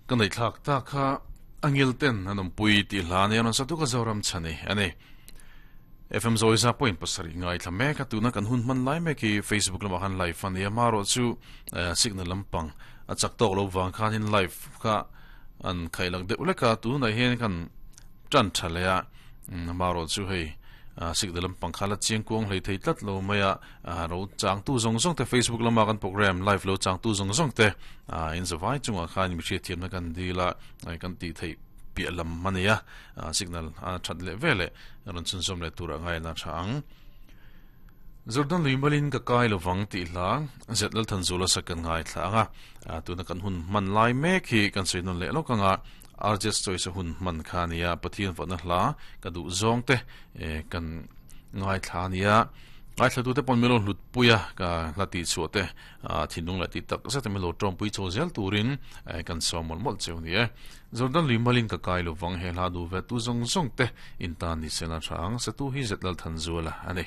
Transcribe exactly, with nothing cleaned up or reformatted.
Kan nei thlak ta kha angil ten anom pui ti hla ne anon satu ka zoram chani ani F M Zoiza point pasari ngai thlame ka tuna kan hun man lai me ki Facebook lama han live ani amaro chu signal lampang a chak tok lo wang khan in live kha an khailak de uleka tu na hen kan tran thalea amaro chu hei signal lampang khala chiang kuang hlei thei tlat lo maya ro chang tu zong zong te Facebook lama kan program live lo chang tu zong zong te in zawai chunga khan mi thia thiam na kan dila ai kan ti thei pi lam mania signal a that le vele ron chun som le tura ngai na thang Jordan Luimalin ka kai lovang ti hla zetlal thanzula sakan ngai thlanga tuna kan hun man lai me khi kan seinon le lokanga arjes choice hun man khania pathian fana hla ka du zong te kan ngai thlania ngai thla tu te pon melo hlut puya ka lati chu te thinung lati tak sa te melo trom pui cho zel turin kan somol mol cheu ni e Jordan Luimalin ka kai lovang he hla du ve tu zong zong te in ta ni sena thang sa tu hi zetlal thanzula ani.